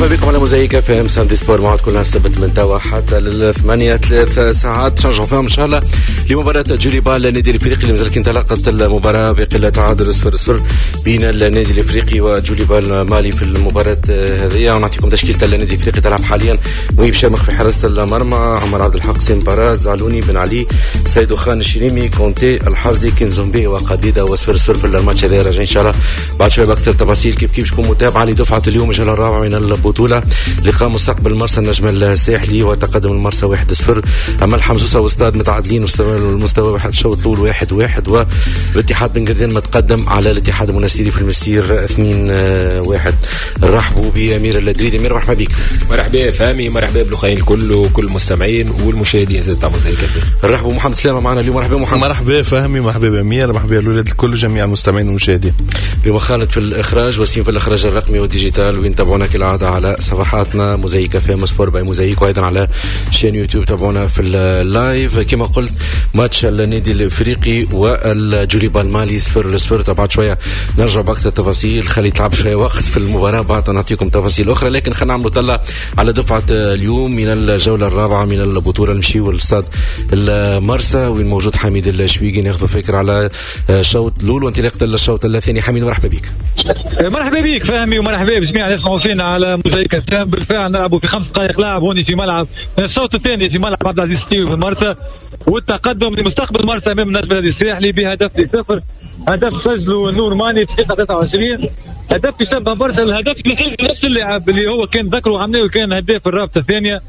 مرحبا بكم على موزايك اف ام samedi sport، موعد كل نهار سبت من توا حتى للثمانية، 3 ساعات نرجعوا فيهم ان شاء الله لمباراة جوليبال النادي الافريقي اللي مازال انطلقت المباراة بقلة تعادل 0-0 بين النادي الافريقي وجوليبال مالي في المباراة هذه. ونعطيكم تشكيلة النادي الافريقي، تلعب حاليا مهيب شامخ في حراسة المرمى، عمر عبد الحق، سيمباراز، علوني، بن علي، سيدو خان، الشريمي، كونتي، الحرزي، كينزومبي وقديدة. و0-0 في الماتش هذا. راجعين ان شاء الله بعد شوية باكثر تفاصيل. كيف كيف تكون متابعة لدفعة اليوم، الجولة الرابعة من البطولة، لقاء مستقبل مرسى النجم الساحلي وتقدم المرسى 1-0. اما الحمام سوسة وستاد متعادلين المستوى واحد، الشوط الاول 1-1، والاتحاد بن قردان متقدم على الاتحاد المنستيري في المستير 2-1. نرحبوا بامير الدريدي. امير، مرحبا بك. مرحبا فهمي، مرحبا بالاخوين الكل وكل المستمعين والمشاهدين زاد تاع موزايك. نرحبوا محمد سلامه معنا اليوم، مرحبا محمد. مرحبا فهمي، مرحبا بامير، مرحبا بالولاد الكل، جميع المستمعين والمشاهدين. اليوم خالد في الاخراج، وسيم في الاخراج الرقمي وال digital، وين تابعونا كالعادة على صفحاتنا موزايك اف ام sport by موزايك، وايضا على chaîne يوتيوب تابعونا في ال live. كما قلت، ماتش النادي الافريقي والجوليبا المالي 0-0. بعد شوية نرجع باكثر تفاصيل، خلي تلعب شوية وقت في المباراة بعد نعطيكم تفاصيل اخرى. لكن خلينا نعملوا طلة على دفعه اليوم من الجولة الرابعة من البطوله. نمشيو للاستاد المرسى وين موجود حميد الشويقي، ناخذ فكرة على الشوط الاول وانطلاقه الشوط الثاني. حميد، مرحبا بك. مرحبا بك فهمي، ومرحبا بجميع اللي يسمعوا فينا على موزايك. بالفعل نلعبوا في 5 دقائق لعب هوني في ملعب الشوط الثاني في ملعب عبد العزيز السيوي في المرسى، والتقدم لمستقبل مرسى امام النجم الرياضي الساحلي بهدف لصفر، هدف سجله نور ماني في دقيقة 23. هدف يشبه برشا الهدف اللي سجله نفس اللاعب اللي هو كان ذكره عملناه، كان هداف الرابطة الثانية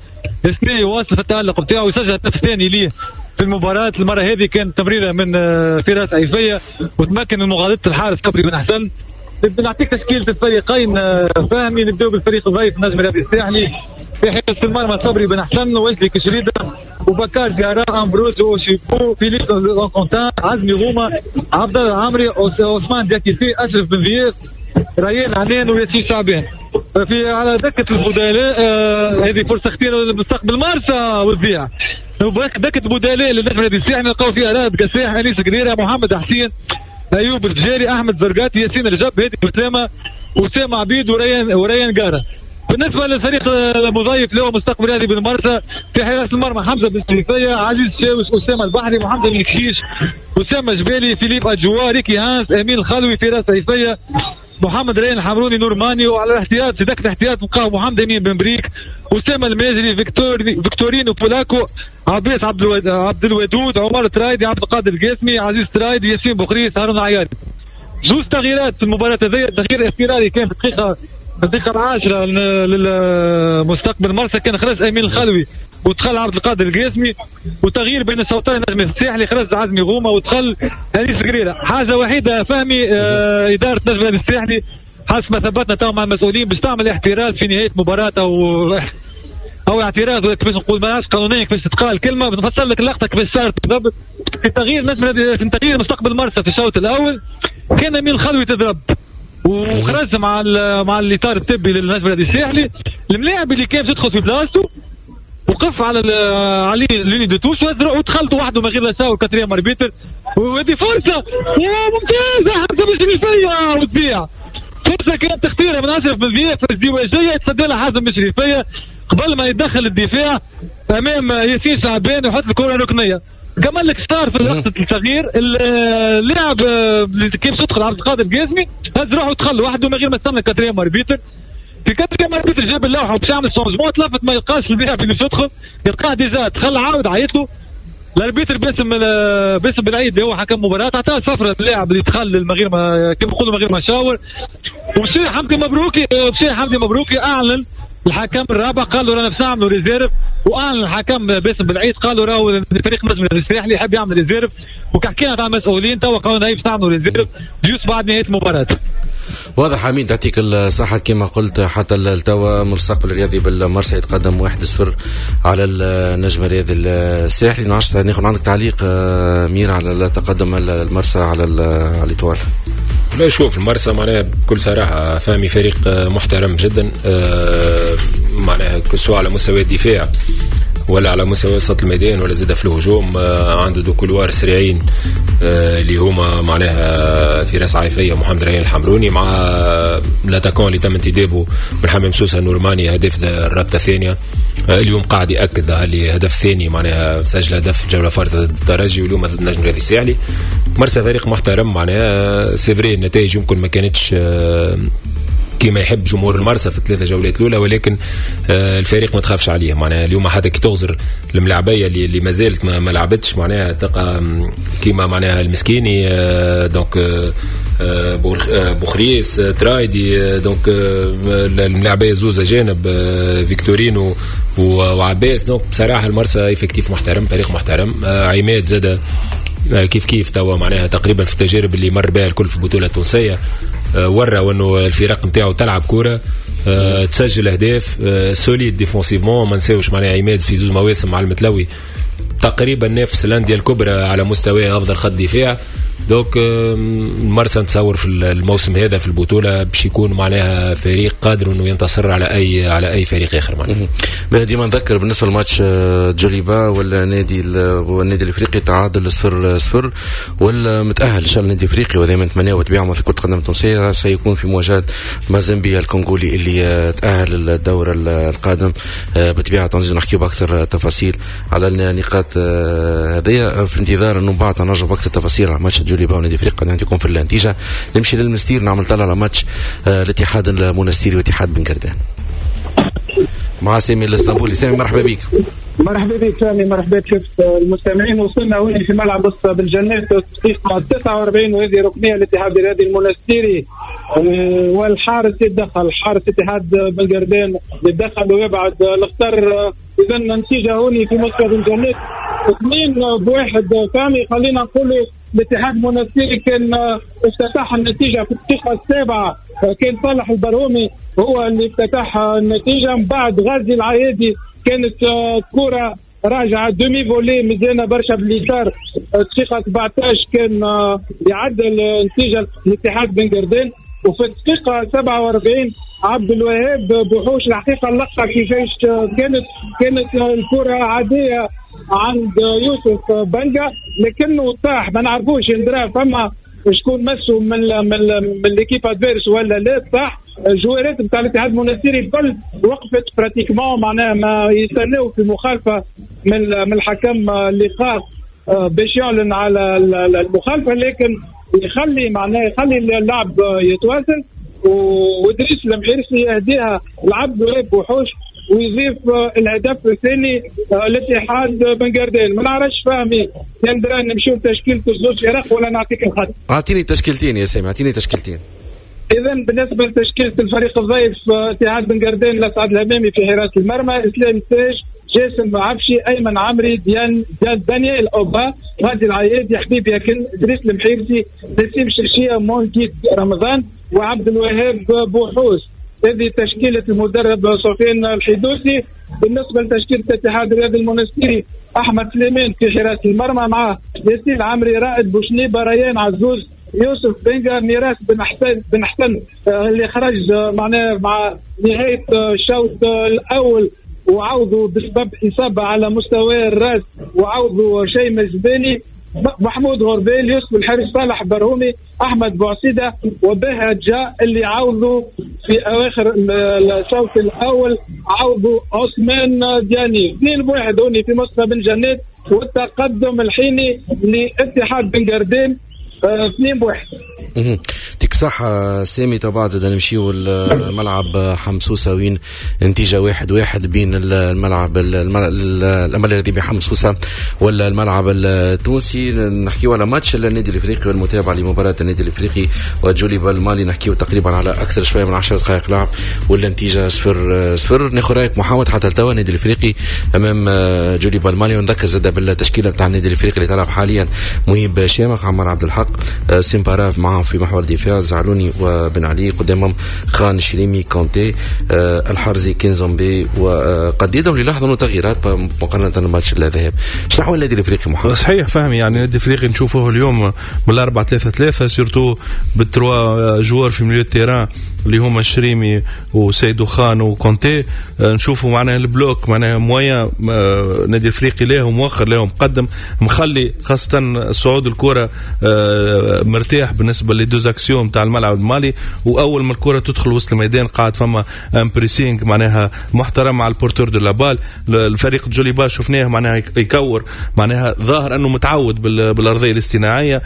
السنة، يواصل في التألق بتاعه ويسجل هدف ثاني ليه في المباراة. المرة هذه كان تمريرة من فراس عيفية وتمكن من مغالطة الحارس صبري بن حسن. نعطيك تشكيلة الفريقين فهمي. نبداو بالفريق الضيف النجم الرياضي الساحلي. في حراسة المرمى صبري بن حسن، ويسلي كشريدة، وبكار جارا، امبروز شيكو، فيليب كونتان، عزمي غومة، عبد الله العمري، عثمان دياكيتي، اشرف بن ضياف، ريان عنان، وياسين شعبان. في على دكة البدلاء هذه فرصة خطيرة لمستقبل مرسى وتضيع. دكة البدلاء للنجم الرياضي الساحلي نلقاو فيها رائد قساح، انيس قريرة، محمد حسين، ايوب الفجاري، احمد زرقاتي، ياسين رجب، هادي اسامه، اسامة عبيد، وريان قاره. بالنسبة للفريق المضيف اللي هو مستقبل رياضي بالمرسى، في حراسة المرمى حمزة بن شريفيه، عزيز شاوش، اسامة البحري، محمد بن كشيش، اسامة جبالي، فيليب اجوا، ريكي هانس، امين الخلوي، فراس عيفيه، محمد ريان الحمروني، نور ماني. وعلى الاحتياط، في دكه الاحتياط، نلقاو محمد امين بن بريك، اسامة الماجري، فيكتورينو بولاكو، عباس عبد الودود، عمر ترايدي، عبد القادر القاسمي، عزيز ترايدي، ياسين بوخريس، هارون عياري. زوج تغييرات في المباراة هذه. تغيير اضطراري كان في الدقيقة 10 للمستقبل مرسى، كان خرج امين الخلوي ودخل عبد القادر القاسمي. وتغيير بين الشوطين نجم الساحلي، خرج عزمي غومه ودخل انيس قريره. حاجة وحيده فهمي، ادارة نجم الساحلي حسب ما ثبتنا تو مع المسؤولين باش تعمل احتراز في نهاية مباراة او اعتراض، ولا كيفاش نقول، ما قانونيا كيفاش تتقال الكلمه. نفسر لك اللقطة كيفاش صارت بالضبط. في تغيير نجم في تغيير مستقبل مرسى في الشوط الاول، كان امين الخلوي تضرب وخرج مع الاطار الطبي للنجم الرياضي الساحلي. الملاعب اللي كان يدخل في بلاصتو وقف على ligne de touche ودخلت وحده من غير لا شاور quatrième arbitre. وهذه فرصة ممتازه، حمزة بن شريفيه وتضيع. فرصة كانت خطيرة من اشرف بن ضياف، ازدواجية يتصدى لها حازم بن شريفيه قبل ما يدخل الدفاع امام ياسين شعبان ويحط الكره ركنيه. كمل لك صار في لقطة التغيير، اللاعب اللي كيف تدخل عبد القادر القاسمي هز روحه ودخل وحده من غير ما يستنى quatrième arbitre. في quatrième arbitre جاب اللوحة باش يعمل changement، تلفت ما يلقاش اللاعب اللي يدخل، يلقاه déjà دخل، عاود عيط له l'arbitre باسم بالعيد اللي هو حكم مباراة، عطاه صفرة اللاعب اللي دخل من غير ما، كيما نقولوا، من غير ما شاور. ومشي حمدي مبروكي اعلن الحكم الرابع، قال له رانا باش نعملوا réserve. واعلن الحكم باسم بالعيد، قالوا راهو الفريق نجم الساحلي يحب يعمل réserve. وكحكينا مع المسؤولين توا قالوا باش نعملوا réserve juste بعد نهاية المباراة. واضح امين، تعطيك الصحة. كما قلت، حتى التوا مستقبل الرياضي بالمرسى يتقدم 1-0 على النجم الرياضي الساحلي. نعرفش ناخذ عندك تعليق مير على تقدم المرسى على l'Étoile. لا، شوف، المرسى معناها بكل صراحة فهمي فريق محترم جدا، معناها que ce soit على مستوى الدفاع ولا على مستوى وسط الميدان ولا زاد في الهجوم. عنده deux couloirs سريعين اللي هما معناها فراس عيفيه ومحمد ريان الحمروني، مع l'attaquant اللي تم انتدابه من حمام سوسة النورماني هداف الرابطة الثانية. اليوم قاعد ياكد اللي هدف ثاني، معناها سجل هدف الجولة الفارطه ضد الترجي واليوم ضد النجم الرياضي الساحلي. مرسى فريق محترم، معناها c'est vrai النتائج يمكن ما كانتش كما يحب جمهور المرسى في الثلاثة جولات الاولى، ولكن الفريق ما تخافش عليه. معناها اليوم حتى كي تغزر الملاعبيه اللي ما زالت ما لعبتش، معناها تلقى كيما معناها المسكيني، donc بوخريس، ترايدي، donc الملاعبيه زوز اجانب، فيكتورينو وعباس. donc بصراحة المرسى effectif محترم، فريق محترم. عماد زاد كيف كيف توا معناها تقريبا في التجارب اللي مر بها الكل في البطولة التونسية، ورى انه الفرق نتاعو تلعب كورة، تسجل اهداف، solide défensivement. ما نساوش معناها عماد في زوز مواسم مع المتلوي تقريبا نافس الاندية الكبرى على مستوى افضل خط دفاع. donc المرسى نتصور في الموسم هذا في البطولة باش يكون معناها فريق قادر انه ينتصر على اي فريق اخر. معناها ديما نذكر بالنسبة لماتش جوليبا ولا نادي والنادي الافريقي تعادل 0-0 والمتاهل ان شاء الله النادي الافريقي، وهذا ما نتمناه وتبيعه مثل كره القدم التونسية، سيكون في مواجهة مازامبيا الكونغولي اللي تاهل للدور القادم. بالطبيعة تنزيل نحكيو باكثر تفاصيل على النقاط هذيا، في انتظار انه بعد نرجع باكثر تفاصيل على ماتش جوليبا ونادي افريقيا نعطيكم في النتيجة. نمشي للمستير نعمل طلع على ماتش الاتحاد المونستيري واتحاد بن قردان مع سامي الاسطنبولي. سامي مرحبا بك. مرحبا بك سامي، مرحبا بك المستمعين. وصلنا هنا في ملعب بالجنات دقيقة 49، وهذه ركنية الاتحاد الرياضي المونستيري، والحارس يتدخل، حارس اتحاد بن قردان يتدخل ويبعد الخطر. اذا النتيجة هوني في مستوى الجنات 2-1. سامي خلينا نقولوا الاتحاد المونستيري كان افتتح النتيجة في الدقيقة 7، كان صالح البرهومي هو اللي افتتح النتيجة. من بعد غازي العيادي كانت كرة راجعة demi-volée مزيانة برشا باليسار، الدقيقة 17 كان يعدل النتيجة الاتحاد بن قردان. وفي الدقيقة 47 عبد الوهاب بوحوش، الحقيقة اللقطة كيفاش كانت الكرة عادية عند يوسف بنجا، لكنه طاح، ما نعرفوش ندرا فما شكون مسو من l'équipe adverse ولا لا. طاح الجوارات نتاع الاتحاد المونستيري الكل وقفت pratiquement، معناها ما يستناو في مخالفة من الحكم اللقاء باش يعلن على المخالفة، لكن يخلي معناها يخلي اللعب يتواصل. وإدريس المحيرسي يهديها لعبد الوهاب بوحوش ويضيف الهدف الثاني الاتحاد بن قردان. ما نعرفش فهمي ندرا نمشيو لتشكيله الزوج فرق ولا نعطيك الخط؟ اعطيني تشكيلتين يا سامي، اعطيني تشكيلتين. اذا بالنسبة لتشكيله الفريق الضيف اتحاد بن قردان، لسعد الهمامي في حراسة المرمى، اسلام تاج، جاسم عفشي، ايمن عمري، ديان دانيال اوبا، غازي العيادي، حبيب ياكن، ادريس المحيرسي، نسيم شرشيه، مونكيت رمضان، وعبد الوهاب بوحوس. هذه تشكيلة المدرب سفيان الحيدوسي. بالنسبة لتشكيلة الاتحاد الرياضي المونستيري، أحمد سليمان في حراسة المرمى، مع ياسين العمري، رائد بوشنيبة، ريان عزوز، يوسف بنجا، ميراث بن حسن اللي خرج معناه مع نهاية الشوط الأول وعوضوا بسبب إصابة على مستوى الرأس، وعوضوا شيء الجبالي، محمود غربيل، يوسف الحارس، صالح برهومي، احمد بوعسيده، وبها جاء اللي عوضوا في اواخر الشوط الاول، عوضوا عثمان دياني. 2-1 هوني في مصطفى بن جنات، والتقدم الحيني لاتحاد بن قردان 2-1. تيك صح سامي. طبعا زاد نمشيو الملعب حمسوسه وين نتيجة 1-1 بين الملعب الامل الرياضي بحمسوسه ولا الملعب التونسي. نحكيو على ماتش النادي الافريقي والمتابعة لمباراة النادي الافريقي وجوليبا المالي، نحكيو تقريبا على اكثر شوية من 10 دقائق لعب والنتيجة 0-0. ناخذ رايك محمد حتى لتوا النادي الافريقي امام جوليبا المالي، ونذكر زاد بالتشكيله نتاع النادي الافريقي اللي تلعب حاليا: مهيب شامخ، عمار عبد الحق، سيمباراف معهم في محور الدفاع، زعلوني وبن علي، قدامهم خان شريمي، كونتي، الحرزي، كينزومبي وقديدهم. اللي لاحظوا انه تغييرات مقارنة بالماتش الذهاب. شنو حول النادي الافريقي محمد؟ صحيح فهمي، يعني النادي الافريقي نشوفوه اليوم من 4-3-3 surtout بال trois joueurs في milieu terrain اللي هما الشريمي وسيدو خان وكونتي. نشوفوا معناها ال bloc معناها moyen نادي الافريقي له مؤخر له مقدم، مخلي خاصة صعود الكره مرتاح بالنسبة les deux axiaux تاع الملعب المالي. واول ما الكره تدخل وسط الميدان قاعد فما un pressing معناها محترم على ال porteur de la balle. الفريق جوليبا شفناه معناها يكور، معناها ظاهر انه متعود بالارضيه الاصطناعيه،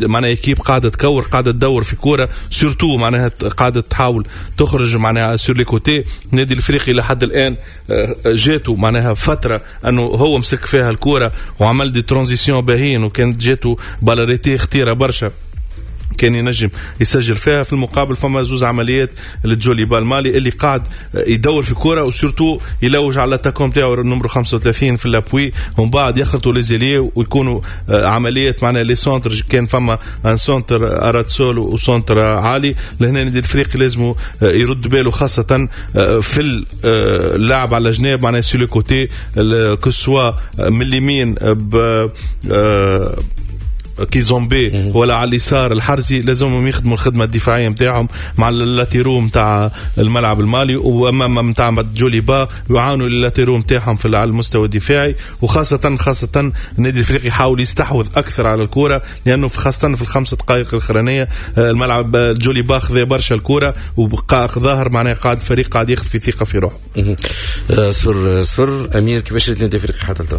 معناها équipe قاعدة تكور، قاعدة تدور في كورة surtout معناها قاعدة تحاول تخرج معناها sur les côtés. النادي الافريقي لحد الان جاته معناها فترة انه هو مسك فيها الكورة وعمل des transitions باهين، وكانت جاته balle arrêtée خطيرة برشا كان ينجم يسجل فيها. في المقابل فما زوز عمليات للجوليبا المالي اللي قاعد يدور في كورة و surtout يلوج على l'attaquant تاعو numéro 35 في l'appui، ومن بعد يخلطوا les ailiers ويكونوا عمليات معناها les centres. كان فما un centre à ras de sol و centre عالي. لهنا النادي الافريقي لازم يرد باله خاصة في اللعب على الجناب معناها sur les côtés، que ce soit من اليمين كيزومبي ولا على اليسار الحرزي، لازمهم يخدموا الخدمة الدفاعية نتاعهم مع ال latéraux نتاع الملعب المالي، وامام نتاع جوليبا يعانوا ال latéraux نتاعهم في على المستوى الدفاعي. وخاصة خاصة النادي الافريقي يحاول يستحوذ اكثر على الكره، لانه خاصة في الخمس دقائق الاخرانية الملعب جوليبا خذا برشا الكره وبقى ظاهر معناها قاعد الفريق قاعد ياخذ في ثقة في روحه. 0-0. امير، كيفاش النادي الافريقي حتى لتو؟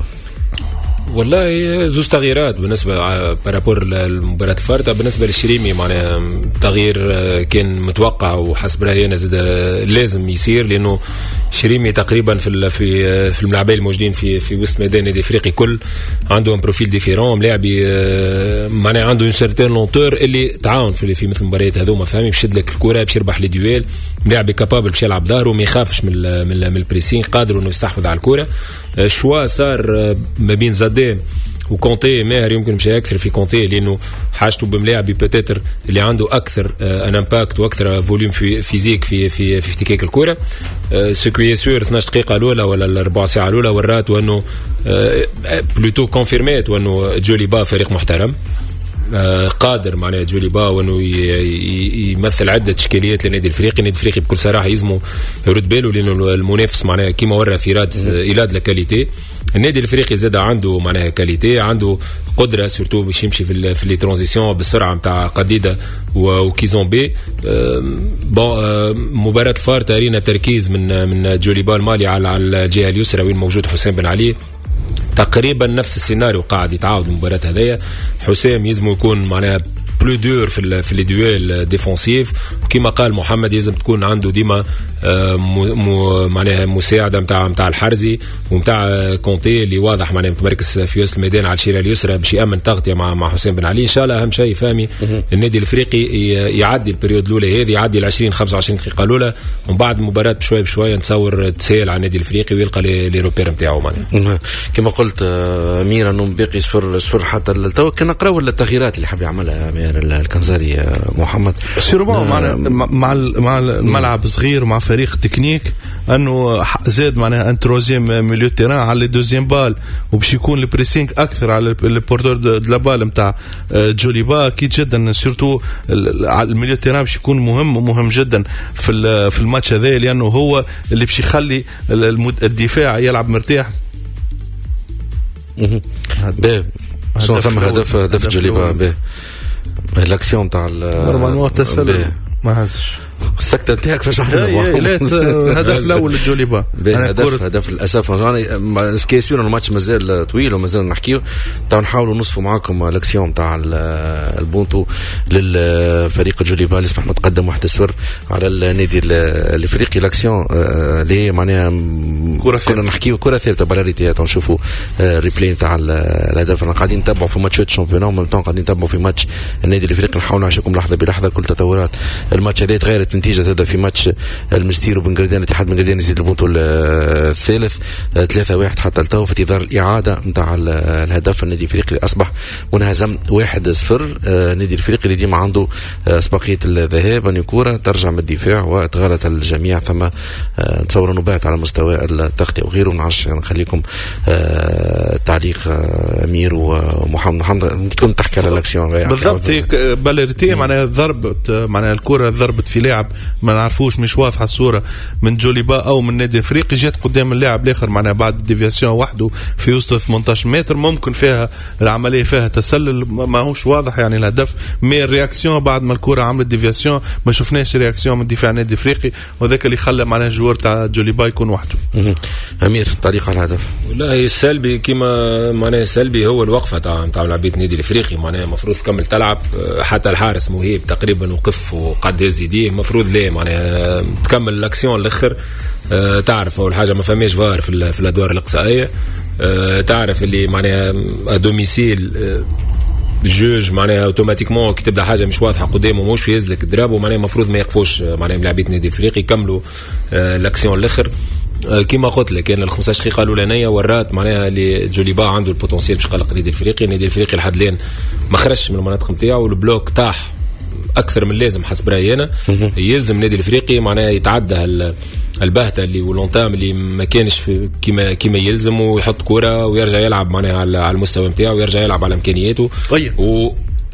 والله زوز تغييرات بالنسبة par rapport للمباراة الفارطه. بالنسبة للشريمي معناها تغيير كان متوقع وحسب رايي انا زاد لازم يصير، لانه شريمي تقريبا في الملاعبين الموجودين في وسط ميدان النادي الافريقي كل عندهم profil différent، ملاعبي معناها عنده une certaine lenteur اللي تعاون في مثل المباريات هذوما، فهمي باش يشد لك الكره، باش يربح les duels، ملاعبي capable باش يلعب ظهره، ما يخافش من ال pressing، قادر انه يستحوذ على الكره. ال choix صار ما بين زادي وكونتي، ماهر يمكن مشى اكثر في كونتي لانه حاجته بملاعبي peut-être اللي عنده اكثر un impact واكثر volume في physique في افتكاك الكره. ce qui est sûr 12 دقيقة الاولى ولا الربع ساعة الاولى ورات وانه plutôt confirmات وانه جوليبا فريق محترم قادر معناها جوليبا وانه يمثل عده اشكاليات للنادي الافريقي. النادي الافريقي بكل صراحة يلزمه يرد باله لانه المنافس معناها كيما ورى في رادس il a de la qualité. النادي الافريقي زاد عنده معناها qualité، عنده قدره surtout باش يمشي في les transitions بالسرعة نتاع قديده وكيزومبي. bon مباراة الفار تارينا تركيز من جوليبا المالي على الجهة اليسرى وين موجود حسام بن علي. تقريبا نفس السيناريو قاعد يتعاود المباراة هذيا. حسام يلزم يكون معناها plus dur في les duels défensifs، وكما قال محمد لازم تكون عنده ديما معناها مساعدة نتاع الحرزي ونتاع كونتي اللي واضح معناها متمركز في وسط الميدان على الشيره اليسرى باش يامن تغطيه مع حسام بن علي. ان شاء الله اهم شيء فهمي النادي الافريقي يعدي ال période الاولى هذه، يعدي ال 20 25 دقيقة الاولى، ومن بعد المباراة بشوية بشوية نتصور تسهل على النادي الافريقي ويلقى les repères نتاعو معناها. كما قلت امير انه باقي 0-0 حتى التو. كنا نقراو التغييرات اللي حاب يعملها امير الكنزاري محمد sûrement مع الملعب صغير ومع فريق تكنيك انه زاد معناها un troisième milieu terrain على les deuxièmes balles، وباش يكون ال pressing اكثر على ال porteur de la balle نتاع جوليبا. اكيد جدا surtout ال milieu terrain باش يكون مهم ومهم جدا في الماتش هذا، لانه هو اللي باش يخلي الدفاع يلعب مرتاح. شنو ثم هدف جوليبا به الاكسيون تاع normalement تسلل ما هزش السكتة نتاعك فاش احنا لا الهدف الاول لجوليبا هدف للاسف يعني ce qui est sûr الماتش مازال طويل ومازال نحكيو. تو نحاولوا نصفوا معاكم الاكسيون تاع البونتو للفريق جوليبا اللي اصبح متقدم 1-0 على النادي الافريقي. الاكسيون اللي معناها كنا نحكيو كره ثابتة balle arrêtée. نشوفوا replay تاع الهدف. قاعدين نتبعوا في ماتشات championnat ومن قاعدين نتبعوا في ماتش النادي الافريقي. نحاولوا نعيشكم لحظة بلحظة كل تطورات الماتش هذا. تغيرت النتيجة هذا في ماتش المستير وبن قردان، اتحاد بن قردان يزيد البونتو الثالث 3-1 حتى التو في انتظار الاعادة نتاع الهدف. النادي الافريقي اصبح منهزم 1-0. النادي الافريقي اللي ديما عنده اسبقيه الذهاب، ان كورة ترجع من الدفاع وتغلط الجميع، ثم نتصور انه بات على مستوى التغطية وغيره. ما نعرفش نخليكم تعليق امير ومحمد. محمد كنت تحكي على الاكسيون بالضبط، balle arrêtée معناها ضربت، معناها الكره ضربت في لاعب ما نعرفوش، مش واضحة الصورة، من جوليبا او من النادي الافريقي، جات قدام اللاعب الاخر معناها بعد déviation وحده في وسط 18 متر، ممكن فيها العملية فيها تسلل، ماهوش واضح يعني الهدف، mais ال réaction بعد ما الكره عملت déviation ما شفناش réaction من دفاع النادي الافريقي، وذاك اللي خلى معناها ال joueur تاع جوليبا يكون وحده. امير، تعليق على الهدف. والله السلبي كما معناها السلبي هو الوقفة تاع لاعبيه النادي الافريقي، معناها المفروض تكمل تلعب، حتى الحارس مهيب تقريبا وقف وقعد يهز يديه، المفروض ليه معناها تكمل l'action الاخر. تعرف اول حاجة ما فماش فار في الادوار الاقصائية، تعرف اللي معناها à domicile juge معناها automatiquement كي تبدا حاجة مش واضحة قدامه مش يهزلك ال drapeau، معناها المفروض ما يقفوش معناها ملاعبيه النادي الافريقي، يكملوا l'action الاخر. كما قلت لك كان ال 15 دقيقة الاولانية ورات معناها اللي جوليبا عنده ال potentiel باش يقلق النادي الافريقي. النادي الافريقي لحد الان ما خرجش من المناطق نتاعو، وال bloc طاح اكثر من اللازم حسب رايي انا. يلزم النادي الافريقي معناها يتعدى البهته اللي و l'entame اللي ما كانش كما يلزم، ويحط كورة ويرجع يلعب معناها على المستوى نتاعو، ويرجع يلعب على امكانياته.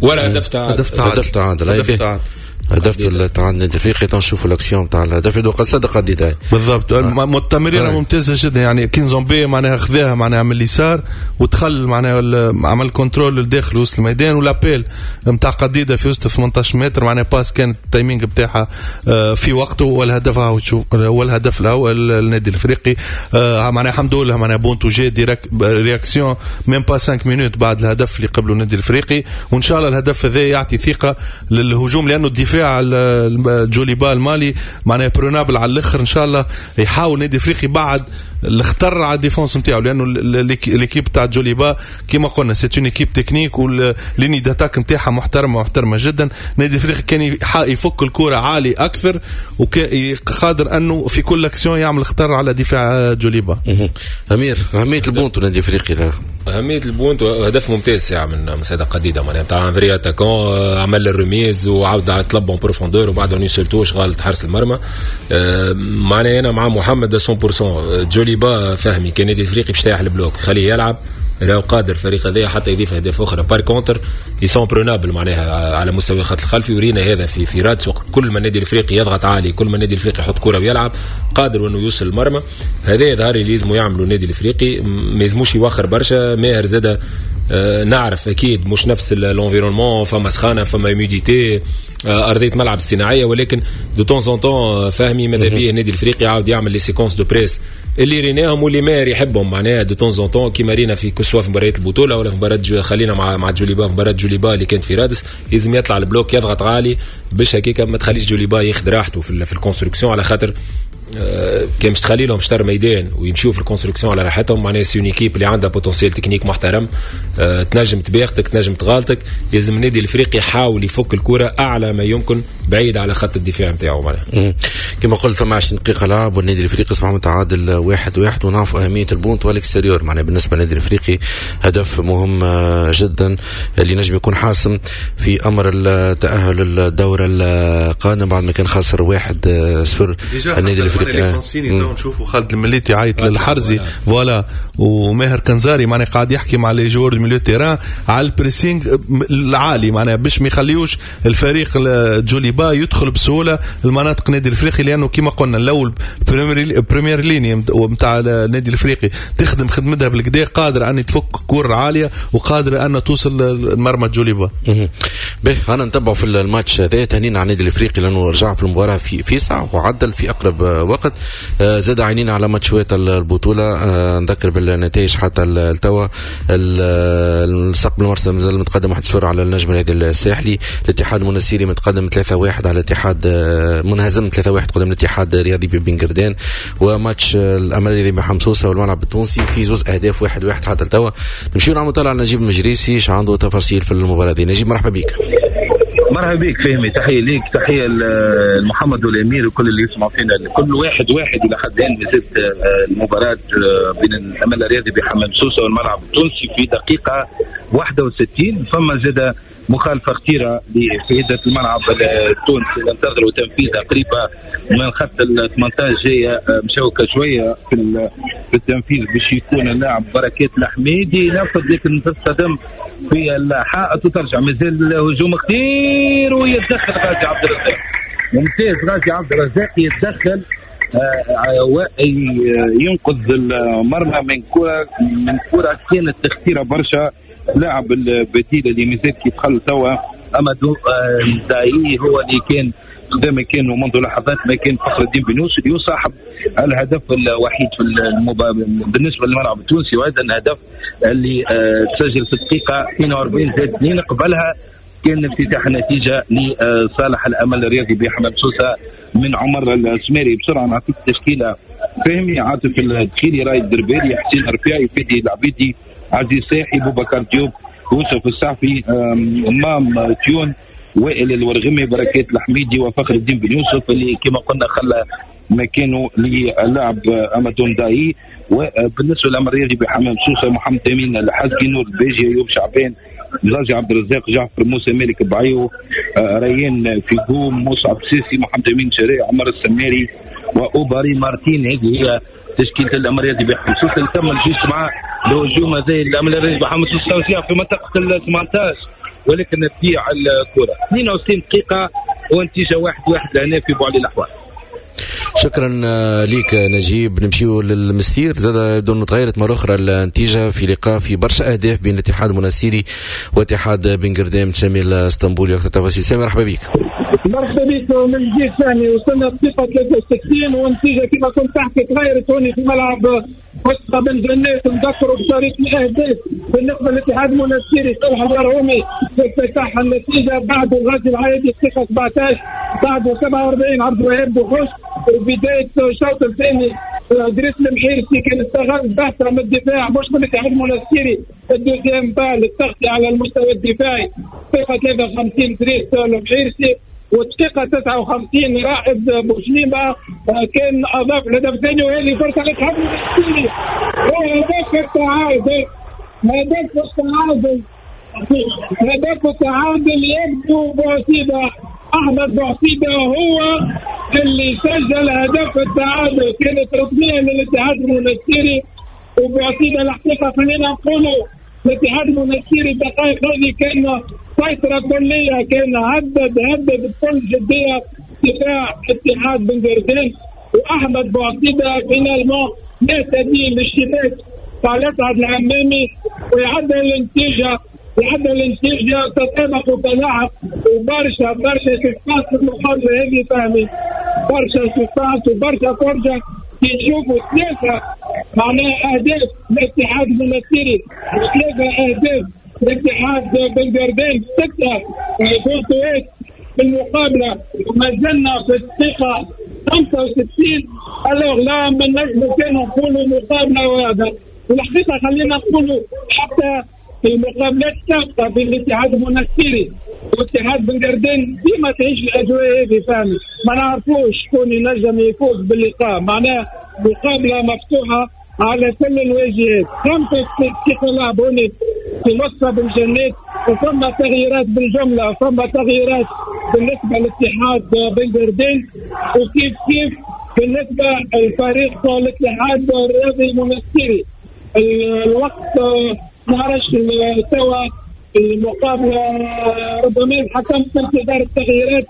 ولا هدف تعادل، هدف تعادل، هدف تعادل، هدف تاع النادي الافريقي. نشوفوا l'action تاع الهدف وقد صدق الدفاع بالضبط. التمريره ممتازة جدا، يعني كينزومبي معناها خذاها معناها من اليسار ودخل معناها عمل contrôle لداخل وسط الميدان، و l'appel نتاع قديده في وسط 18 متر، معناها passe كانت ال timing بتاعها في وقته، والهدف هو الهدف الاول للنادي الافريقي. معناها الحمد لله معناها بونتو جا direct réaction même pas 5 minutes بعد الهدف اللي قبله النادي الافريقي، وان شاء الله الهدف هذا يعطي ثقة للهجوم، لانه الدفاع جوليبا المالي معناها prenable على الاخر. ان شاء الله يحاول النادي الافريقي بعد الخطر على ال défense نتاعو، لانه l'équipe تاع جوليبا كيما قلنا c'est une équipe technique، وال ligne d'attaque نتاعها محترمه محترمه جدا. النادي الافريقي كان يفك الكره عالي اكثر، وقادر انه في كل اكسيون يعمل خطر على دفاع جوليبا. امير، اهمية البونتو النادي الافريقي؟ اهمية البونتو هدف ممتاز ساعة من سيدة قديده، معناها تاع vrai attaquant، عمل ال remise وعاود طلب en profondeur وبعد une seule touche غلط حارس المرمى. معناها انا مع محمد 100%. جوليبا فهمي كان النادي الافريقي باش يطيح ال bloc خليه يلعب، راهو قادر الفريق هذا حتى يضيف اهداف اخرى. par contre ils sont prenables معناها على مستوى الخط الخلفي، ورينا هذا في رادس، وقت كل ما النادي الافريقي يضغط عالي، كل ما النادي الافريقي يحط كره ويلعب قادر انه يوصل المرمى. هذا يظهر اللي لازم يعملوا النادي الافريقي، ما يلزموش يوخر برشا. ماهر زاد نعرف اكيد مش نفس l'environnement، فما سخانه، فما humidité، ارضية ملعب الصناعيه، ولكن de temps en temps فهمي ماذا بيه النادي الافريقي عاود يعمل les séquences de press اللي ريناهم واللي ماهر يحبهم، معناها de temps en temps كيما رينا في que ce soit في مباريات البطولة ولا في مباراة خلينا مع جوليبا، في مباراة جوليبا اللي كانت في رادس، لازم يطلع ال bloc يضغط عالي باش هكاك ما تخليش جوليبا ياخذ راحته في ال construction، على خاطر كان مش تخلي لهم شطر ميدان ويمشيو في ال construction على راحتهم، معناها c'est une équipe اللي عندها potentiel technique محترم، تنجم تباغتك تنجم تغالطك. لازم النادي الافريقي يحاول يفك الكره اعلى ما يمكن بعيد على خط الدفاع نتاعو معناها. كما قلت ثم 20 دقيقة لعب والنادي الافريقي اصبح متعادل 1-1، ونعرف اهمية البونت وال extérieur معناها بالنسبة للنادي الافريقي هدف مهم جدا اللي نجم يكون حاسم في امر التاهل للدور القادم بعد ما كان خسر 1-0 النادي الافريقي. تو نشوفوا خالد المليتي عيط للحرزي voilà، وماهر كنزاري معناها قاعد يحكي مع les joueurs milieu terrain على ال pressing العالي، معناها باش ما يخليوش الفريق جوليبا يدخل بسهولة المناطق النادي الافريقي، لانه كما قلنا الاول première ligne نتاع النادي الافريقي تخدم خدمتها بالكدا، قادر ان تفك كور عالية وقادر ان توصل لمرمى جوليبا. به انا نتبعوا في الماتش هذا، تهنينا على النادي الافريقي لانه رجع في المباراة في ساعة وعدل في اقرب وقت. زاد عينينا على ماتشات البطولة، نذكر بالنتائج حتى التوا، المستقبل المرسى مازال متقدم 1-0 على النجم الرياضي الساحلي، الاتحاد المنستيري متقدم 3-1 على الاتحاد، منهزم 3-1 قدام الاتحاد الرياضي ببن قردان، وماتش الامل الرياضي بحمام سوسة والملعب التونسي في زوز اهداف 1-1 حتى التوا. نمشيو نعملوا طلع على نجيب المجريسي اش عنده تفاصيل في المباراة دي. نجيب مرحبا بك. مرحبا بك فهمي، تحية ليك، تحية لمحمد والأمير وكل اللي يسمعوا فينا. كل 1-1 إلى حد الآن مازالت المباراة بين الأمل الرياضي بحمام سوسة والملعب التونسي في دقيقة 61. فما زاد مخالفة خطيرة لسيدة الملعب التونسي ننتظروا تنفيذها قريبة من خط ال 18 جاية مشوكة شوية في التنفيذ باش يكون اللاعب بركات الحميدي ينفذ، لكن تصطدم في الحائط وترجع. مازال هجوم خطير ويتدخل غازي عبد الرزاق، ممتاز غازي عبد الرزاق يتدخل وينقذ المرمى من كرة كانت خطيرة برشا. لاعب البديل اللي مازال كي دخل توا أمادو داي هو اللي كان قدام كان منذ لحظات ما كان فخر الدين بن يوسف اللي صاحب الهدف الوحيد في بالنسبة للملعب التونسي، وهذا الهدف اللي تسجل في الدقيقة 42+2. قبلها كان افتتاح النتيجة لصالح الأمل الرياضي بحمام سوسة من عمر السميري. بسرعة نعطيك تشكيلة فهمي: عاطف الدخيلي، رايد الدربالي، حسين الرفاعي، فادي العبيدي، عزيز ساحي، بوبكر ديوب، يوسف السعفي، مام تيون، وائل الورغمي، بركات الحميدي، وفخر الدين بن يوسف اللي كما قلنا خلى مكانه للاعب أمادون داي. وبالنسبة للأمل الرياضي بحمام سوسة محمد أمين الحزقي، نور الباجي، أيوب شعبان، غازي عبد الرزاق، جعفر موسى، مالك بعيو، ريان فيغو، مصعب سيسي، محمد أمين شريع، عمر السماري، وأوباري مارتين. هذه هي تشكيلة الأمل الرياضي بحمام سوسة. نكمل juste مع الهجوم هذا الأمل الرياضي بحمام سوسة في منطقة ال 18، ولكن تضيع الكرة. 62 دقيقة ونتيجة 1-1 لهنا في بوعلي الأحوال. شكرا ليك نجيب. نمشيو للمستير، زاد دون تغيرت مرة أخرى النتيجة في لقاء في برشا أهداف بين الاتحاد المنستيري واتحاد بن قردام. سامي الاسطنبولي وقت التفاصيل. سامي مرحبا بك. مرحبا بك من جديد ثاني. وصلنا الدقيقة 63 والنتيجة كما كنت تحكي تغيرت هوني في ملعب وسط بن جنات. نذكروا بطريقة الأهداف بالنسبة للاتحاد المنستيري صالح البرهومي افتتح النتيجة، بعده غازي العايدي الدقيقة 17، بعده 47 عبد الوهاب بوخش. وبداية الشوط الثاني دريس المحيرسي كان استغل بحثة من الدفاع مش من الاتحاد المنستيري، ال deuxième balle التغطية على المستوى الدفاعي. دقيقة 53 دريس المحيرسي، والدقيقة 59 رائد بوشليمة كان أضاف الهدف الثاني، وهذه فرصة للاتحاد المنستيري. هدف التعادل، هدف التعادل، هدف التعادل يبدو بوعصيدة. أحمد بوعصيدة هو اللي سجل هدف التعادل، كانت ركنية للاتحاد المنستيري. وبوعصيدة الحقيقة خلينا نقولوا الاتحاد المنستيري الدقائق هذه كان سيطرة كلية، كان هدد بكل جدية دفاع اتحاد بن قردان. وأحمد بوعصيدة finalement يهتدي للشباك تاع الأسعد العمامي ويعدل النتيجة، يعدل النتيجة تطابق وتلاعب. وبرشا برشا suspense في المقابلة هذه فهمي، برشا suspense وبرشا فرجة. كي نشوفوا ثلاثة معناها أهداف الاتحاد المنستيري وثلاثة أهداف الاتحاد بن قردان، 6 بونتوات في المقابلة، وما زلنا في الدقيقة 65. alors là من نجم كانوا نقولوا مقابلة وهذا. والحقيقة خلينا نقولوا حتى في المقابلات السابقة بين الاتحاد المنستيري واتحاد بن قردان ديما تعيش الأجواء هذه فهمي، ما نعرفوش شكون ينجم يفوز باللقاء، معناها مقابلة مفتوحة على كل الواجهات. 5 دقائق لعب هوني في مصر بالجنات، وثم تغييرات بالجملة، ثم تغييرات بالنسبة للاتحاد بن قردان، وكيف كيف بالنسبة للفريق الاتحاد الرياضي المنستيري. الوقت نعرفش توا المقابلة، ربما الحكم في انتظار التغييرات.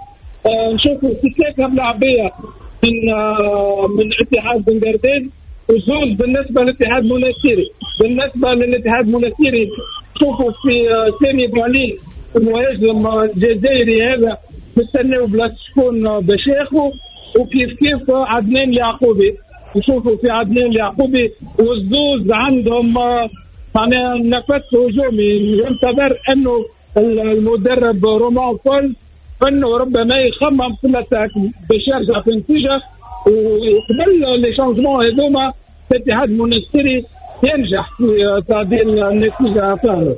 نشوفوا 3 ملاعبية من اتحاد بن قردان وزوز بالنسبة للاتحاد المنستيري. بالنسبة للاتحاد المنستيري شوفوا في سامي بوعلي المهاجم الجزائري هذا نستناو بلاصة شكون باش ياخذ، وكيف كيف عدنان اليعقوبي. نشوفوا في عدنان اليعقوبي والزوز عندهم معناها نفس هجومي. ينتظر انه المدرب رومان بول انه ربما يخمم في l'attaque باش يرجع في النتيجة، وقبل les changements هذوما الاتحاد المنستيري ينجح في تعديل النتيجة فعلا.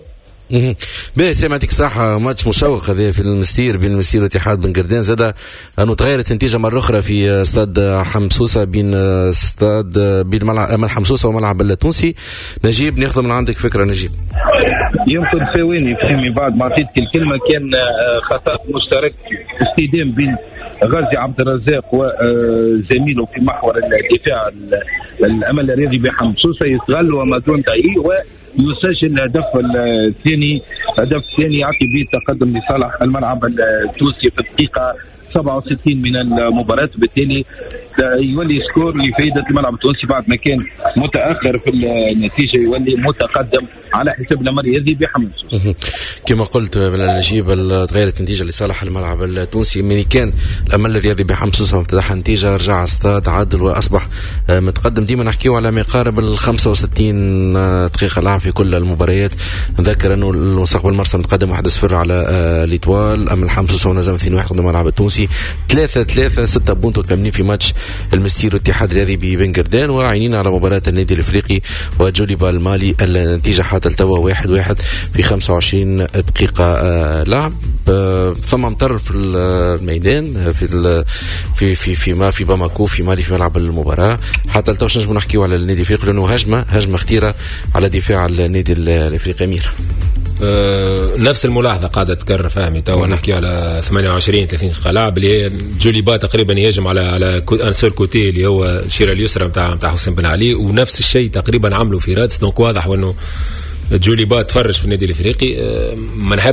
باهي سامي، يعطيك الصحة. ماتش مشوق هذا في المستير بين المستير واتحاد بن قردان. زاد انه تغيرت النتيجة مرة أخرى في استاد حمسوسة بين استاد بين ملعب حمسوسة وملعب التونسي. نجيب ناخذ من عندك فكرة نجيب. يمكن ثواني فهمي بعد ما عطيتك الكلمة، كان خطأ مشترك اصطدام بين غازي عبد الرزاق وزميله في محور الدفاع الامل الرياضي بحمسوسة، يستغل ومادون داي ويسجل الهدف الثاني. هدف ثاني يعطي به التقدم لصالح الملعب التونسي في الدقيقة 67 من المباراة، وبالتالي يولي score لفائدة الملعب التونسي بعد ما كان متاخر في النتيجه، يولي متقدم على حساب الامل الرياضي بحمام. كما قلت نجيب، تغيرت النتيجة لصالح الملعب التونسي. من كان الامل الرياضي بحمام سوسة افتتح النتيجه، رجع استاد عدل واصبح متقدم. ديما نحكيو على ما يقارب ال 65 دقيقة لعب في كل المباريات. نذكر انه المستقبل مرسى متقدم 1-0 على l'Étoile، اما الحمام سوسة ونزم 2-1 قدام الملعب التونسي، 3-3، 6 بونتو كاملين في ماتش المستير والاتحاد الرياضي ببنقردان. وعينينا على مباراة النادي الافريقي وجوليبا المالي، النتيجة حتى التوا 1-1 في 25 دقيقة لعب. ثم مطر في الميدان في في في في ما في باماكو في مالي في ملعب المباراة. حتى التوا نجمو نحكيو على النادي الافريقي لانه هجمة خطيرة على دفاع النادي الافريقي امير. نفس الملاحظة قاعدة تكرر فهمي، توا نحكي على 28 30 دقيقة لعب اللي هي جوليبا تقريبا يهاجم على un seul côté اللي هو الشيره اليسرى نتاع حسين بن علي، ونفس الشيء تقريبا عملوا في رادس. donc واضح انه جوليبا تفرج في النادي الافريقي. ما نحب